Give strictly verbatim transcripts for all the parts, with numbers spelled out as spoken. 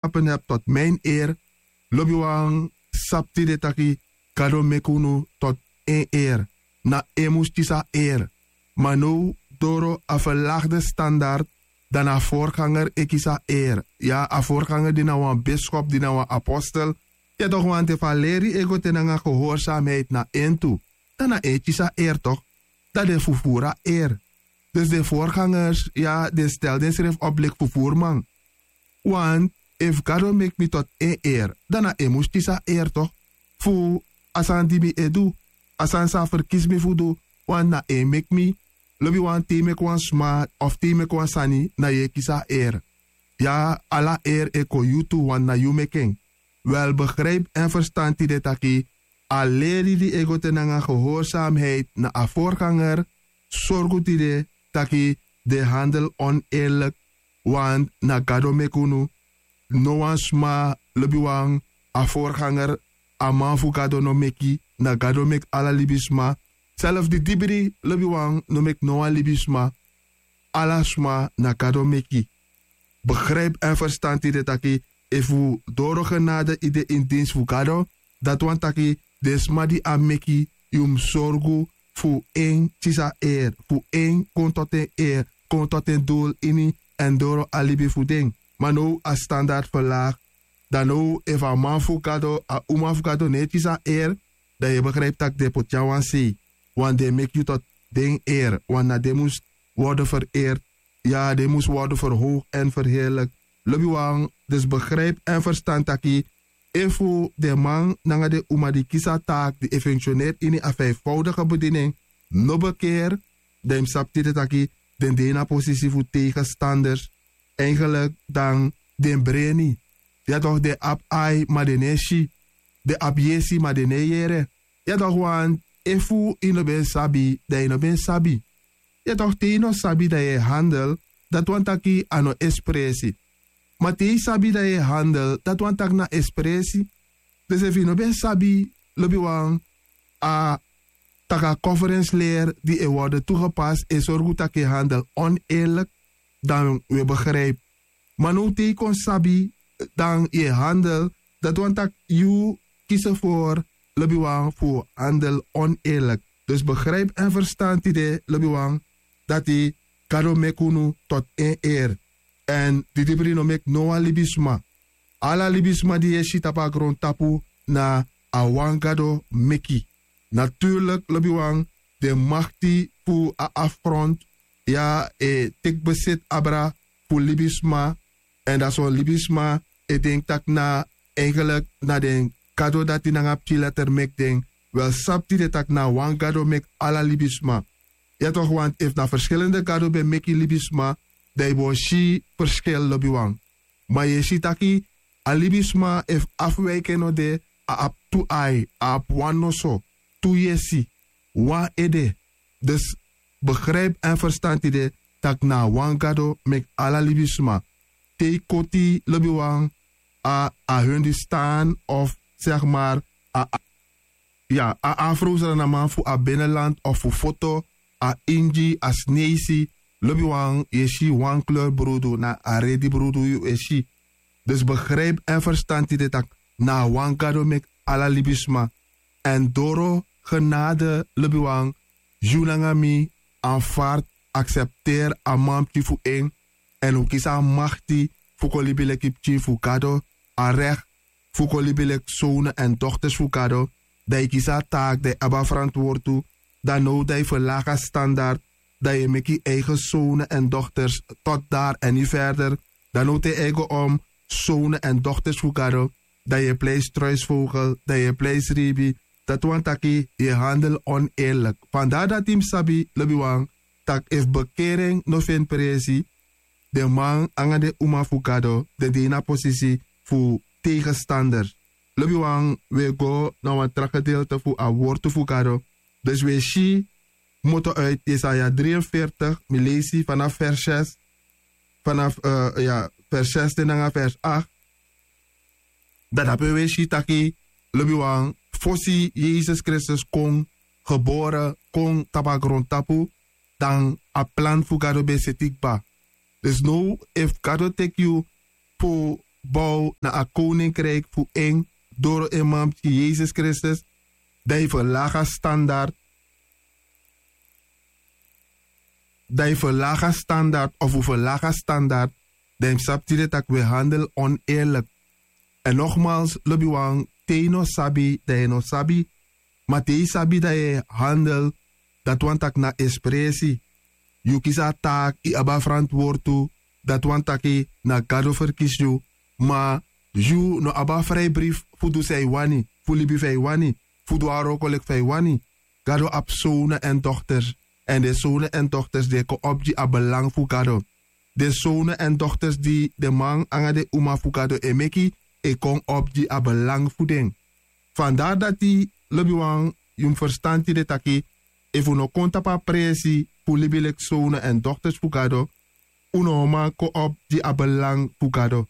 Apen hebi tot mi en eer. Lobiwan, sabi tide taki gado meki unu tot en eer. Na en mus kisi a eer. Ma now, doro a ferlagde standard, dan na a vorganger e kisi a eer. Ya, a vorganger di na wan biskop, di na wan apostel. Ya, toch want efu a leri e go te nanga gehoorzaamheid na en tu, dan na en e kisi a eer, toch? Dan den fufuru a eer. Dus den vorgangers, ya, den stel densrefi op leki fufuruman. Want efu gado meki mi tot en eer, dan na en mus kisi a eer, toch? Fu a sani di mi e du, a sani san a ferkisi mi fu du. Want na en meki mi. Lobiwan, te yu meki wan sma of te yu meki wan sani, na yu e kisi a eer. Ya, ala eer e kon yu tu, want na yu meki en. Wel, begrijp en ferstan tide taki a leri di e go te nanga gehoorzaamheid na a vorganger, sorgu tide taki den handel oneerlijk. Want na gado meki unu. No wan sma, lobiwan, a vorganger, a man fu gado no meki. Na gado meki ala libisma. Self di dibri, lobiwan, no meki no wan libisma. Ala sma na gado meki. Begrijp en ferstan tide taki efu doro genade yu de in dienst fu gado, dati wani taki den sma di a meki, yu mus sorgu fu en kisi a eer, fu en kon tot en eer, kon tot en doel ini, èn doro a libi fu den. Ma now a standard verlaag. Dan now efu a man fu gado, a uma fu gado no e kisi a eer, dan yu e begrijp tak' den poti a wan sei. Want den meki yu tot den eer, want na den mus worden vereerd. Ya, den mus worden verhoogd en verheerlijk. Lobiwan, dus begrijp en ferstan taki efu den man nanga den uma di kisi a taak di e funksioneri ini a vijfvoudige bediening no bekeer, dan yu mus sabi tide taki den de ini a posisi fu tegenstanders. Eigenlijk dan den breni. Ya, toch, den abi ai ma den no e si. Den abi yesi ma den no e yere. Ya, toch, want efu yu no ben sabi, dan yu no ben sabi. Ya, toch, te yu no sabi dan yu e handel, dati wani taki a no espresi. Ma te yu sabi dan yu e handel, dati wani taki na espresi. Dus efu yu no ben sabi, lobiwan, a taki a conference leri di e worden toegepast e sorgu taki yu e handel oneerlijk, dan wi e begrijp. Ma now te yu kon sabi, dan yu e handel, dati wani taki yu kisi ervoor, lobiwan, fu handel oneerlijk. Dus begrijp en ferstan tide, lobiwan, dati gado meki unu tot en eer. Èn di dibri no meki no wan libisma. Ala libisma di yu e si tapu a grontapu, na a wan gado meki. Natuurlijk, lobiwan, den makti fu a afgrond, ya, e teki besiti abra fu libisma. Èn dan son libisma e denki tak' na, eigenlijk, na den gado dati nanga pikin letter meki den. Wel, sabi tide tak' na wan gado meki ala libisma. Ya, toch, want efu na verschillende gado ben meki libisma, dan yu bo si verschil, lobiwan. Ma yu e si taki a libisma, efu afwijken no de, a abi tu ai, a abi wan noso, tu yesi, wan ede. Dus begrijp en ferstan tide tak' na wan gado meki ala libisma. Te yu koti, lobiwan, a, a Hindustan of, zeg maar, a, a, ya, a Afro-Sranaman fu a binnenland of fu foto, a Ingi, a Sneisi, lobiwan, yu e si wan kleur brudu, na a redi brudu yu e si. Dus begrijp en ferstan tide tak' na wan gado meki ala libisma. Èn doro genade, lobiwan, yu nanga mi anvaard, aksepteri a manpikin fu en, èn un kisi a makti fu kon libi leki pikin fu Gado, a recht fu kon libi leki zonen èn dochters fu Gado, dan yu kisi a taak, dan yu abi a verantwoord tu, dan now dan yu verlaag a standard, dan yu e meki yu eigen zonen èn dochters tot daar en niet verder, dan now te yu e go om zonen èn dochters fu Gado, dan yu e plei struisvogel, dan yu e plei sribi, dati wani taki yu e handel oneerlijk. Vandaar dati yu mus sabi, lobiwan, tak' efu bekering no feni presi, den man nanga den uma fu Gado, den de ini a posisi fu tegenstanders. Lobiwan, wi e go na wan tra gedeelte fu a wortu fu Gado. Dus wi e si, moto uit Jesaja drieënveertig, mi leisi vanaf vers zes, vanaf, eh, ya, vers zes te nanga vers acht. Dan dape wi e si taki, lobiwan, fosi Yesus Kristus kon gebore, kon tapu a grontapu, dan a plan fu Gado ben seti kba. Dus now, efu Gado teki yu fu bow na a koninkrijk fu en doro en man pikin yesus kristus, dan yu verlaga standard. Dan yu verlaga standard of wi verlaga standard, dan yu mus sabi tide tak' wi e handel oneerlijk. Èn nogmals lobiwan, te yu no sabi dan yu no sabi. Ma te yu sabi dan yu e handel, dati wani tak' na espresi. Yu kisi a taaki yu abi a ferantwortu. Dati wani taki na gado ferkisi yu. Ma yu no abi a frijbrifi fu du san yu wani, fu libi fa yu wani, fu du a wroko leki fa yu wani. Gado abi sownu èn dokters. Èn den sownu èn dokters di e kon opo gi a belang fu gado. Den sownu èn dokters di den man nanga den uma fu gado e meki, e kon opo gi a belang fu den. Fandari dati, lobiwan, yu mus ferstan tide taki, efu un no kon tapu a presi fu libi leki sownu èn dokters fu gado, un no o man kon opo gi a belang fu gado.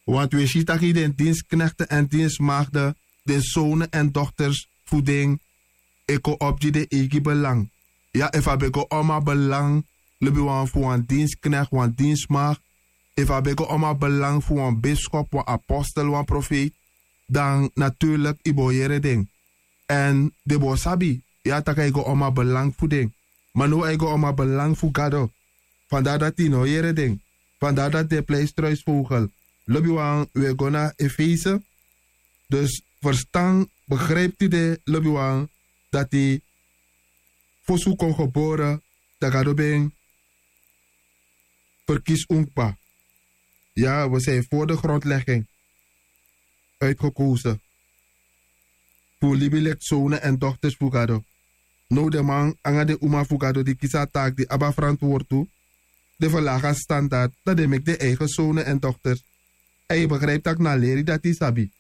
Want wi e si taki den dinsknekte èn dinsmagde, den sownu èn dokters fu den, e kon opo gi den eigi belang. Ya, efu a ben go om a belang, lobiwan, fu wan dinsknekti, wan dinsmagde, efu a ben go om a belang fu wan biskop, wan apostel, wan profeiti, dan naturlik yu bo yere den. Èn den bo sabi, ya, tak' a e go om a belang fu den. Ma now a e go om a belang fu gado. Fandari dati yu no yere den. Fandari dati den pleistruisvogel. Lobiwan, wi e go na efese. Dus ferstan, begrijpti den, lobiwan, dati fosi un kon gebore, dan gado ben ferkisi un kba. Ya, wi sin vori de grondlegging uitgekozen fu libi leki sownu èn dokters fu gado. Now den man nanga den uma fu gado di kisi a taaki di abi a ferantwortu, den ferlagi a standard, dan den meki den eigen sownu èn dokters. Èn yu begrijpti tak' na a leri dati yu sabi.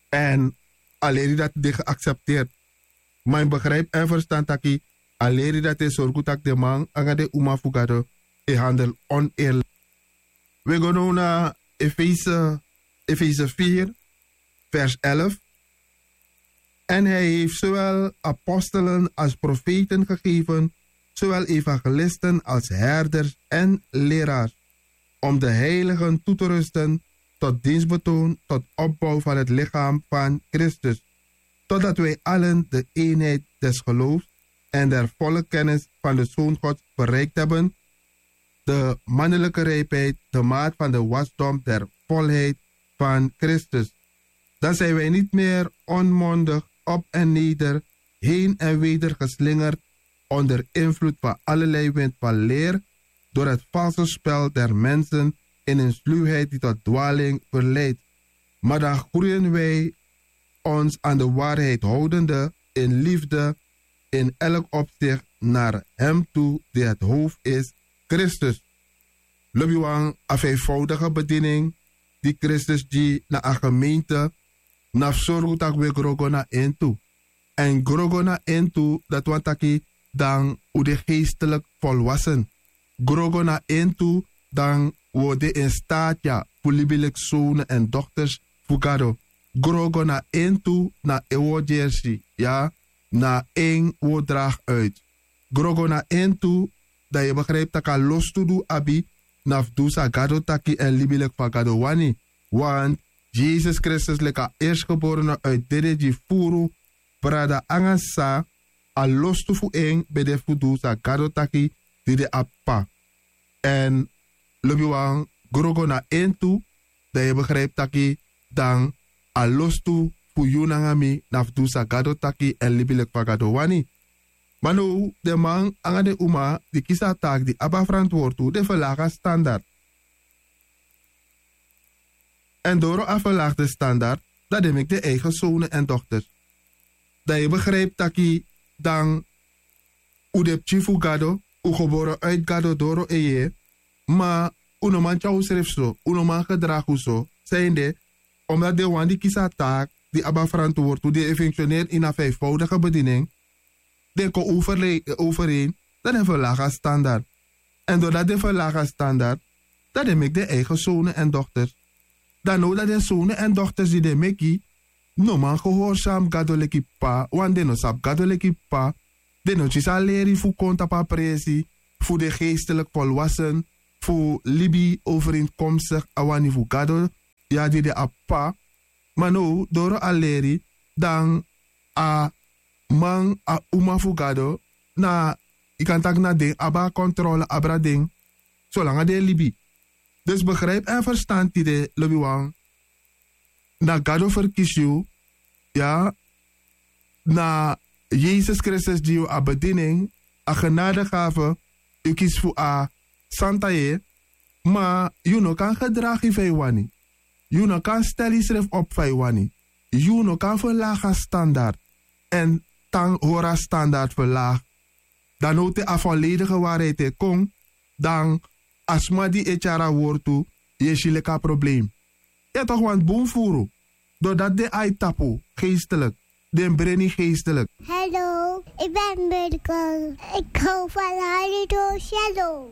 Èn a leri dati de geaksepteerti. Ma yu begrijpti èn ferstan taki a leri dati e sorgu tak' den man nanga den uma fu gado e handel oneerlik. Wi e go now na efese, efese vier, vers elf. En hij heeft zowel apostelen als profeten gegeven, zowel evangelisten als herders en leraars, om de heiligen toe te rusten tot dienstbetoon, tot opbouw van het lichaam van Christus, totdat wij allen de eenheid des geloofs en der volle kennis van de Zoon Gods bereikt hebben, de mannelijke rijpheid, de maat van de wasdom der volheid van Christus. Dan zijn wij niet meer onmondig op en neder, heen en weder geslingerd onder invloed van allerlei wind van leer, door het valse spel der mensen in een sluwheid die tot dwaling verleidt. Maar dan groeien wij ons aan de waarheid houdende in liefde in elk opzicht naar hem toe die het hoofd is, Christus. Lobiwan, a vijfvoudige bediening di Kristus gi na a gemeente, na fu sorgu tak' wi e gro go na en tu. Èn gro go na en tu, dati wani taki dan un de geestelik volwassen. Gro go na en tu, dan wi o de in staati ya fu libi leki sownu èn dokters fu Gado. Gro go na en tu, na en wi o gersi, ya, na en wi o dragi uit. Gro go na en tu, dan yu e begrijpi tak' a lostu di un abi na fu du san Gado taki èn libi leki fa Gado wani. Want Yesus Kristus leki a eerstgeborene uit dede gi furu, brada nanga sisa, a lostu fu en ben de fu du san Gado taki di de a P'pa. Èn lobiwan, gro go na en tu, dan yu e begrijpi taki dan a lostu fu yu nanga mi na fu du san Gado taki èn libi leki fa Gado wani. Ma now den man nanga den uma di kisi a taaki di abi a ferantwortu, den ferlagi a standard. Èn doro a ferlagi den standard, dan den meki den eigen sownu èn dokters. Dan yu e begrijpi taki dan un de pikin fu Gado, un gebore uit Gado doro en yeye, ma un no man tyari unsrefi so, un no man gedragi un so. Sanede? Omdat den wan di kisi a taaki di abi a ferantwortu, di e funksioneri ini a vijfvoudige bediening, den kon overeen, dan den ferlagi a standard. Èn doordat den ferlagi a standard, dan den meki den eigen sownu èn dokters. Dan now dati den sownu èn dokters di den meki no man gehoorsami Gado leki P'pa, want den no sabi Gado leki P'pa. Den no kisi a leri fu kon tapu a presi fu de geestelik volwassen, fu libi overeenkomstig a wani fu gado, ya di de a p'pa. Ma now doro a leri, dan a man a uma fu gado, na yu kan taki na den abi a kontrole abra den, solanga den e libi. Dus begripi èn ferstan tide lobiwan, na gado ferkisi yu, ya, na yesus kristus gi yu a bedini en, a genade gafe, yu kisi fu a santa yeye. Ma yu no kan gedragi fa yu wani. Yu no kan stel yusrefi opu fa yu wani. Yu no kan ferlagi a standard, èn tan hori a standard ferlagi. Dan now te a foledige wari e te kon, dan a sma di e tyari a wortu, yu e si leki a problem. Yu e toki wani bun furu. Dori dati den ai tapu geestelik, den breni geestelik. Hello, ik ben Mirkel. Ik hou van Harido Cello.